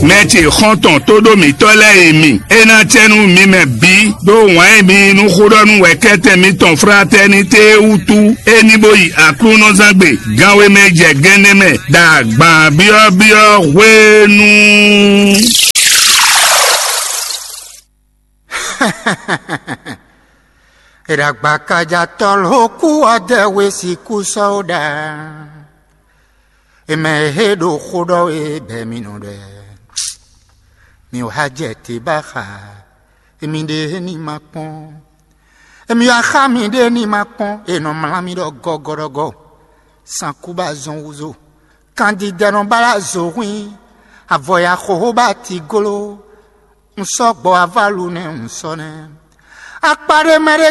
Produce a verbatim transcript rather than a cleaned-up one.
Mɛ ce xɔ́ntɔn tóɖó mǐtɔn lɛ́ɛ e mi, é ná cɛ nú mi mɛ bǐ ɖó wǎn e mi yí nú xóɖɔ́nú wɛ̌kɛ́tɛn mitɔn Fratɛnité é wútu, é ní bó yi Aklúnɔzán gbe ganwe mɛ jɛ gɛnɛ mɛ ɖo agban byɔ́byɔ́ hwenu. Eɖagbakaja tɔlhoku ɔdɛ we siku sɔ́ ɖa. Emɛ he ɖo xó ɖɔ we bɛ mi nɔ ɖɛ. Mi wá jɛ te ba xa. Emi ɖe ní ma kpɔn. Emi wá xa mi ɖe ní ma kpɔn. E nɔ mlá mi ɖɔ gɔgɔɖɔgɔ. Sankuba zɔn wuzo. Kandidɛnɔ bala zo hwin. Avɔ ya xoxo ba ti golo. Un sɔ́ gbɔ avalu nɛ́ un sɔ́ nɛ́. Akpa ɖé mɛ ɖé